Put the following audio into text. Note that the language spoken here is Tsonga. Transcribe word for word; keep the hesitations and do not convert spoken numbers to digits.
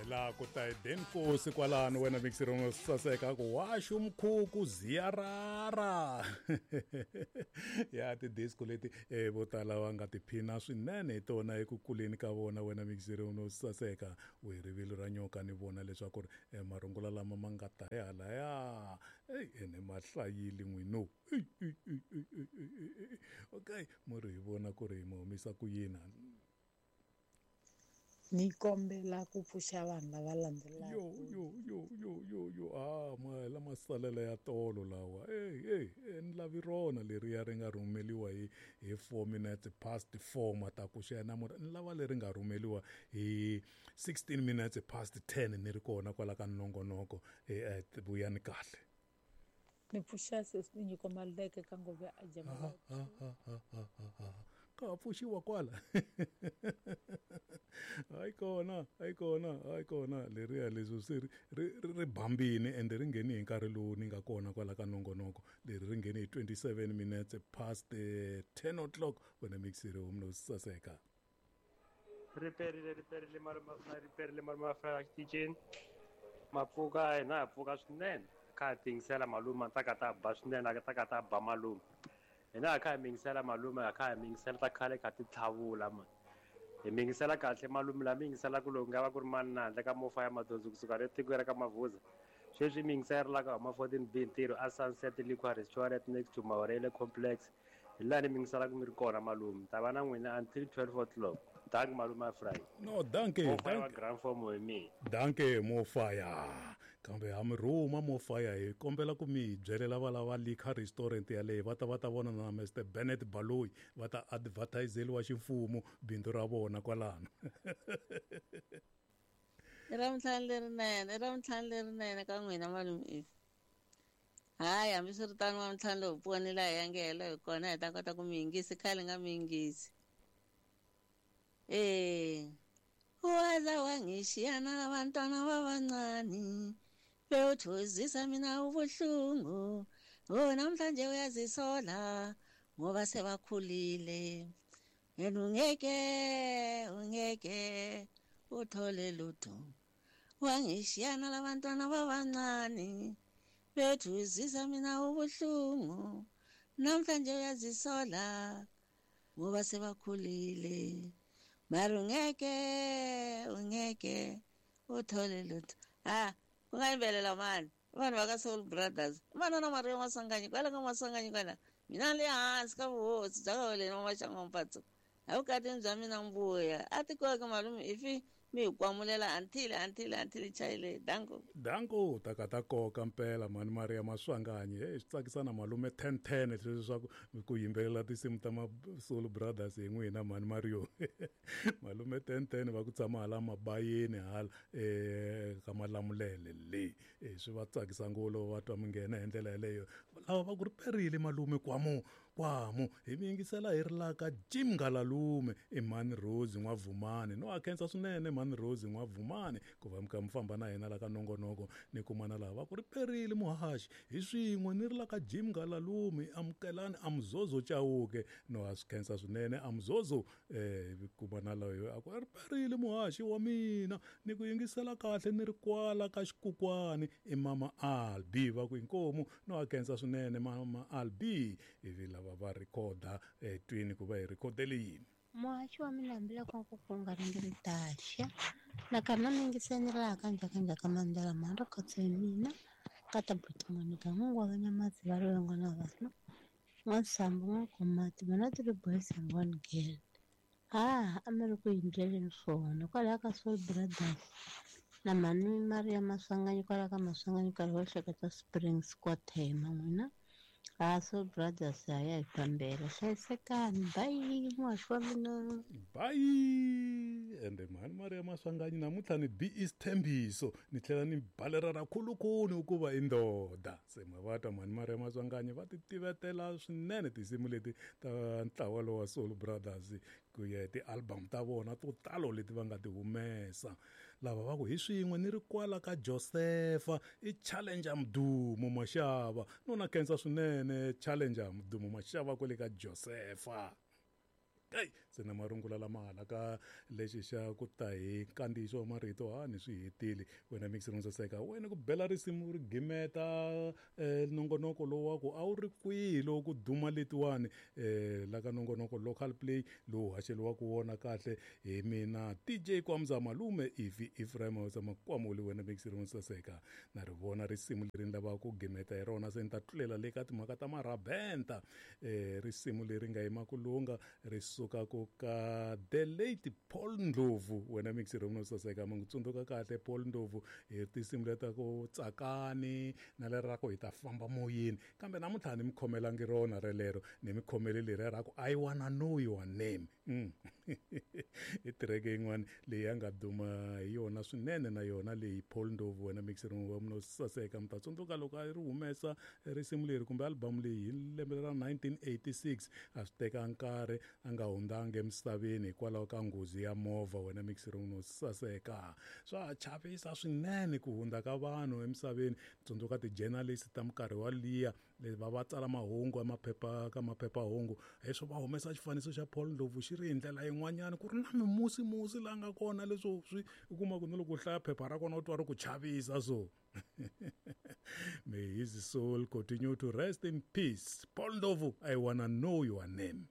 La ku ta hi denkosi kwalano wena mixirong saseka ku waxu mkhuku ziyarara ya ti-disco leti eh, vo tala va nga tiphina swinene hi tona eku kuleni ka vona wena mixirong saseka. U hi rivilo ra nyoka ni vona leswaku ri eh, marungula lama ma nga ta hi halaya eyi ene ma hlayile n'wino. Ey, ey, ey, ey, ey, ey, ey. Okay, mo ri hi vona ku ri hi mi humisa ku yini. Ni kombela ku pfuxa vanhu lava landzelaka. Yo yo yo yo yo yo ah ma lama salela ya tolo lawa. Ey ey ni lavi rona leriya ri nga rhumeliwa hi hi four minutes past four matakuxa ya namuntlha. Ni lava leri nga rhumeliwa hi sixteen minutes past ten ni ri kona kwala ka nongonoko. Eh vuyani kahle. Ni pfuxa sesi ni nyiko maleke ka ngove a jama. Ha ha ha ha ha. Ka pfuxiwa kwala. Hayi kona, hayi kona, hayi kona leriya leswi se ri ri ri bambini ende ri ngheni hi nkarhi lowu ni nga kona kwala ka nongonoko. Leri ri ngheni hi twenty-seven minutes past ten o'clock wena mixiri humno saseka. Riperile riperile maruma riperile maruma fra xitichini. Mapfuka hina ha pfuka swinene. Kha tingisela malume ta ka ta ba swinene ta ka ta ba malume. Hina kha hi mingisela malume kha hi mingisela ta khale kha ti tlhavula man. Hi mingisela kahle malume la mingisela ku loko nga va ku ri mani na handle ka mofa ya madondzo kusuka le tikweni ra ka Mavuza. Sweswi mingisela la ka huma fourteen B ntirho a Sunset Liquor Restaurant next to Maurele Complex. Hi laha ni mingisela ku mi ri kona malume. Ta va na n'wina until twelve o'clock. Dank malume Friday. No, danke. Mofaya grand form hi mina. Danke mofaya. Kambe ha mi rhuma mofaya hi kombela ku mi byelela va lava Liquor Restaurant yaleyo va ta va ta vona na Mister Bennett Baloyi va ta advertiseliwa ximfumo bindzu ra vona kwalano. I ra vutlhanu lerinene, i ra vutlhanu lerinene ka n'wina malume If. Hayi hambiswiritano wa ntlhanu lowu pfuka laha hi ya ngehela hi kona hi ta kota ku mi yingisi khale nga mi yingisi. Eh, waza wangishiyana labantwana babancane bewuthozisa mina ubuhlungu. Oh, namhlanje uyazisola ngoba sebakhulile. Yena ungeke ungeke uthole lutho. Wangishiyana labantwana babancane bewuthozisa mina ubuhlungu. Namhlanje uyazisola ngoba sebakhulile. Mara ungeke ungeke uthole lutho. Ah, ku nga yimbelela mani vanhu va ka Soul Brothers. Vana na Maria Maswanganyi kwala ka Maswanganyi kwala. Mina le hansi ka vuhosi bya ka wena Maxango Mpatso. A vukatini bya mina mbuya. A tikoke malume ifi mi hi kwamulela until until until chayile. Danko. Danko ta ka ta koka mpela mani Maria Maswanganyi. Hey, swi tsakisa na malume ten ten leswi swa ku ku yimbelela tinsimu ta ma Soul Brothers hi n'wina mani Mario. Malume ten ten va ku tshama hala mabayeni hala eh ka Malamulele le. Eh swi va tsakisa ngopfu loko va twa mi nghena hi ndlela yaleyo. Lava va ku ri perile malume kwamu kwamu hi mi yingisela hi ri la ka Jim Ngalalume i mani Rose N'wavumani. No a khensa swinene mani Rose N'wavumani ku va mi kha mi famba na hina la ka nongonoko ni kumana laha va ku ri perile muhaxi hi swin'we ni ri la ka Jim Ngalalume amukelani amzozo Chauke. No a swi khensa swinene amzozo eh kumana loyo a ku ri perile muhaxi wa mina ni ku yingisela kahle ni ri kwala ka xikukwani i mama Albi va ku inkomu. No a khensa swinene mama Albi ivi lava va rhikhoda eh twini ku va hi rhikhodele yini. Muhaxi wa mina hambiloko ku ku nga ri taxa nakarhi na mingiseni laha ka njhakanjhaka mandela mhani ri khotse hi mina ka ta butimoni ka n'wangu wa vanyamatsi va rilongo na vana n'wansambu n'wankomati vana three boys and one girl. Ah, a mi ri ku yimbyeleni swona kwalaho ka Soul Brothers na mhani Maria Maswanganyi kwalaho ka Maswanganyi nkarhi wo hleketa Springs kwa Thema n'wina. Ah, Soul Brothers ya ya hi fambela hlayisekani. Bye muhaxi wa mina. Bye. Ende mhani Maria Maswanganyi namuntlha ni B is Thembiso ni tlhela ni balera ra khulukhulu hikuva i ndoda. Se ma va twa mhani Maria Maswanganyi va ti tivetela swinene tinsimu leti ta ntlawa lowa wa Soul Brothers ku ya hi ti-album ta vona to talo leti va nga ti humesa. Lava va ku hi swin'we ni ri kwala ka Josefa i Challenger Mdumo Mashava. No na khensa swinene Challenger Mdumo Mashava kwale ka Josefa. Hey, se na marungula lama hala ka lexi xa ku ta hi nkandziyiso wa marito ha ni swi hetile wena mixer saseka wena ku bela risimu ri gimeta eh, nongonoko lowu wa ku a wu ri kwihi lowu ku duma letiwani eh, la ka nongonoko local play lowu haxeliwaka wona kahle hi mina D J Kwamza Malume Ivi Ephraim Makwamuli wena mixer saseka na ri vona risimu leri ni lavaka ku gimeta hi rona se ni ta tlulela le ka timhaka ta marabenta eh, risimu leri nga yima ku lunga ri suka ku ka the late Paul Ndlovu wena mixer saseka ma n'wi tsundzuka kahle Paul Ndlovu hi tinsimu leta ku tsakani na leri ra ku hi ta famba moyeni kambe namuntlha ni mi khomelangi rona relero ni mi khomele leriya ra ku I wanna know your name mm. I tireke yin'wana leyi a nga duma hi yona swinene na yona leyi Paul Ndlovu wena mixer wa munhu saseka mi ta tsundzuka loko a ri humesa risimu leri kumbe album leyi hi lembe ra nineteen eighty-six a swi teka nkarhi a nga hundzanga emisaveni hikwalaho ka nghozi ya movha wena mixer wa munhu saseka swa chavisa swinene ku hundza ka vanhu emisaveni tsundzuka ti-journalist ta minkarhi wa liya leti va va tsala mahungu maphepha ka maphephahungu leswo va humesa xifaniso xa Paul Ndlovu xi ri hi ndlela yin'wanyana ku ri na mimusimusi la nga kona leswo swi u kuma ku na loko u hlaya phepha ra kona u twa ri ku chavisa so may his soul continue to rest in peace. Paul Ndlovu, I wanna know your name.